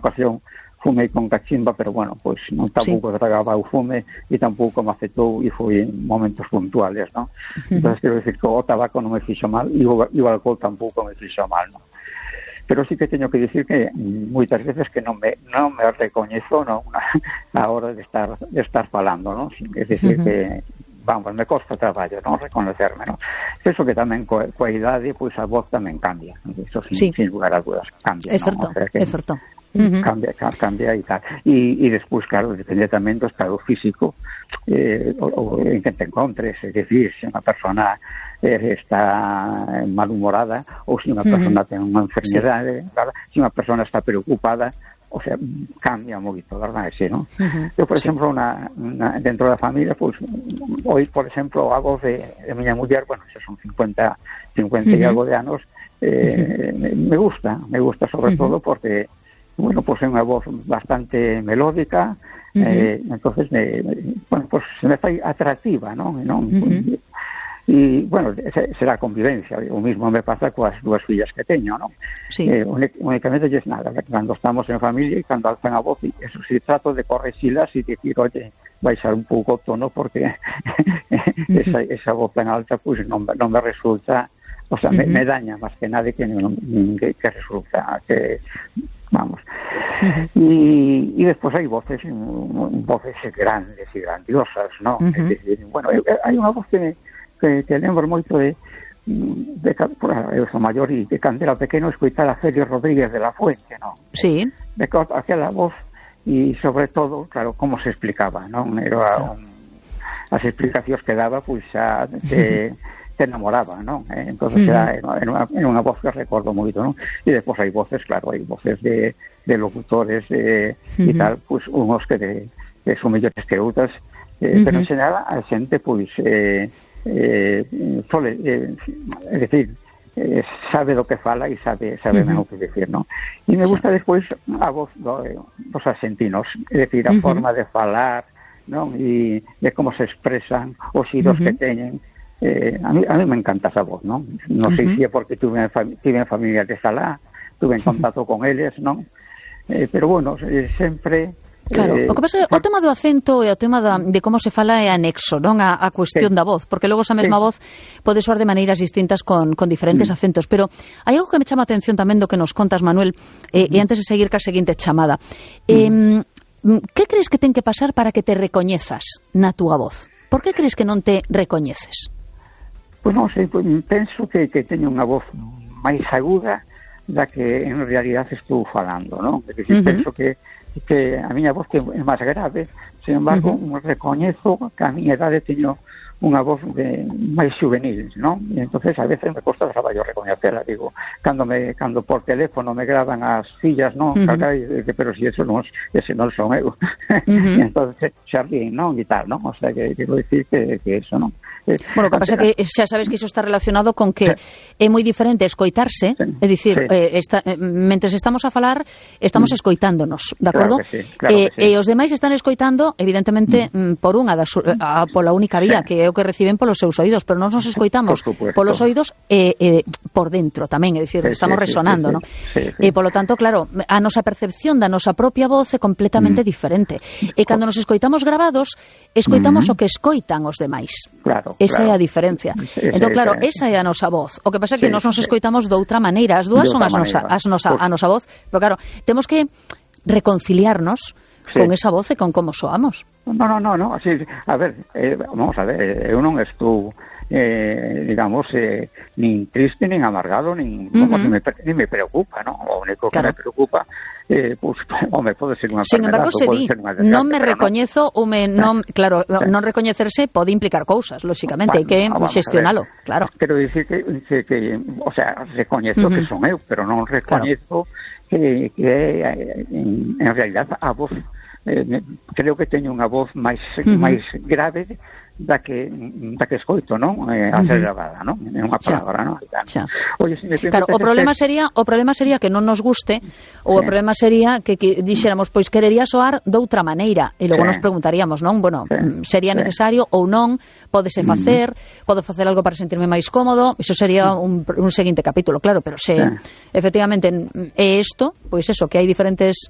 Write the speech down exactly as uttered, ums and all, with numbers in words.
ocasión fumei con cachimba, pero bueno, pois non tampouco sí. tragaba o fume e tampouco me afectou e foi en momentos puntuales, non? Uh-huh. Entón, quero dicir que o tabaco non me fixo mal e o, e o alcohol tampouco me fixo mal, non? Pero sí que teño que dicir que moitas veces que non me non me recoñezo, non, a hora de estar de estar falando, non? É dicir uh-huh. que vamos, me costa traballo, non reconocerme, non? Eso que tamén coa, coa idade, pois a voz tamén cambia, eso sin, sí. sin lugar a dudas, cambia, é certo, non? O sea que, é certo. Uh-huh. Cambia, cambia e tal. E, e despois, claro, depende tamén do estado físico eh, o, o en que te encontres, é dicir, se unha persona eh, está malhumorada ou se unha persona uh-huh. ten unha enfermedade, sí. se unha persona está preocupada, o sea, cambia moito, verdad, ese, ¿no? Uh-huh. Eu, por sí. exemplo, una, una, dentro da familia, pues, hoy, por exemplo, a voz de, de miña muller, bueno, xa son cincuenta, cincuenta uh-huh. e algo de anos, eh, uh-huh. me gusta, me gusta sobre uh-huh. todo porque bueno, pues é unha voz bastante melódica, uh-huh. eh, entonces me, bueno, pues se me fai atractiva, non? non? Uh-huh. E, bueno, será convivencia, o mismo me pasa coas dúas fillas que teño, non? Sí. Eh, únicamente es nada, cando estamos en familia e cando alzan a voz, e eso sí, trato de correxilas e dicir, oye, baixar un pouco o tono porque uh-huh. esa, esa voz tan alta, pues non, non me resulta, o sea, uh-huh. me, me daña máis que nada que, que, que resulta, que vamos. Uh-huh. Y, y después hay voces, voces grandes y grandiosas, ¿no? Uh-huh. Es decir, bueno, hay unha voz que, que, que lembro moito de, de, de por eu sou maior e de cando era pequeno escoitar a Félix Rodríguez de la Fuente, ¿no? Sí. De aquela voz e sobre todo, claro, como se explicaba, ¿no? Era un, as explicacións que daba, pois xa de te enamoraba, ¿no? Eh, entonces uh-huh. era, era, una, era unha voz que recordo moito, ¿no? E despois hai voces, claro, hai voces de, de locutores eh, uh-huh. e tal, pues unhos que, de, que son mellores que outras, eh, uh-huh. pero en xeral a xente, pois, eh, eh, sole, eh, é dicir, eh, sabe do que fala e sabe sabe uh-huh. o que decir, ¿no? E me gusta sí. despois a voz do, dos argentinos, é dicir, a uh-huh. forma de falar, ¿no? E de como se expresan, os xiros uh-huh. que teñen. Eh, a, mí, a mí me encanta esa voz, ¿no? No uh-huh. sei se é porque tuve, tuve familia de Salá, tuve en contacto uh-huh. con eles, ¿no? Eh, pero bueno, eh, sempre... Claro, eh, o que pasa é o tema do acento e o tema da, de como se fala é anexo, non? A, a cuestión sí. da voz, porque logo esa mesma sí. voz pode soar de maneiras distintas con, con diferentes mm. acentos, pero hai algo que me chama a atención tamén do que nos contas, Manuel, eh, mm. e antes de seguir ca seguinte chamada. Eh, mm. Que crees que ten que pasar para que te recoñezas na túa voz? Por que crees que non te recoñeces? Pois non sei, pues, penso que, que teño unha voz máis aguda da que en realidad estou falando, non? Porque uh-huh. penso que, que a miña voz que é máis grave, sin embargo, uh-huh. recoñezo que a miña idade teño unha voz de máis juvenil, non? E entonces a veces me costa traballo recoñecela, digo, cando me cando por teléfono me graban as fillas, non? Uh-huh. Carai, pero si eso non, ese non son eu. Uh-huh. E entonces xa ríen, non? E tal, non? O sea, que quero dicir que, que eso, non? Bueno, o que pasa é que xa sabes que iso está relacionado con que é moi diferente escoitarse, sí. é dicir, sí. eh, esta, eh, mentres estamos a falar, estamos mm. escoitándonos, de acordo? Claro que sí, claro eh, que sí. E os demais están escoitando, evidentemente, mm. por unha das, a, pola única vía, sí. que é o que reciben polos seus oídos, pero nós nos escoitamos por polos oídos e eh, eh, por dentro tamén, é dicir, sí, estamos sí, resonando, sí, sí, ¿no? Sí, sí. E polo tanto, claro, a nosa percepción da nosa propia voz é completamente mm. diferente. E cando nos escoitamos grabados, escoitamos mm. o que escoitan os demais. Claro, esa claro. é a diferencia. Entón, claro, esa é a nosa voz. O que pasa é que sí, nós nos sí. escoitamos de outra maneira. As dúas son as nosa, as nosa, a nosa voz. Pero claro, temos que reconciliarnos sí. con esa voz e con como soamos. No, no, no, no. Sí, a ver, eh, vamos a ver, eu non estou eh, digamos, eh, nin triste, nin amargado, nin, uh-huh. como, ni, me, ni me preocupa, ¿no? O único que claro. me preocupa, eh, pues, home, pode ser unha Sin embargo, se di, non me recoñezo, no. ou me, non, claro, sí. non recoñecerse pode implicar cousas, lóxicamente, hai que no, xestionalo, claro. Quero dicir que, que, que, o sea, recoñezo uh-huh. que son eu, pero non recoñezo claro. que, que en, en realidad a voz, eh, creo que teño unha voz máis, uh-huh. máis grave da que da que escoito, non? Eh, a ser gravada, non? É unha palabra, non? Oye, si me claro, o problema este... sería, o problema sería que non nos guste, ou sí. o problema sería que, que dixéramos, pois querería soar doutra maneira, e logo sí. nos preguntaríamos, non? Bueno, sí. sería necesario sí. ou non, pódese facer, mm. podo facer algo para sentirme máis cómodo, iso sería un, un seguinte capítulo, claro, pero se sí. efectivamente é isto, pois eso, que hai diferentes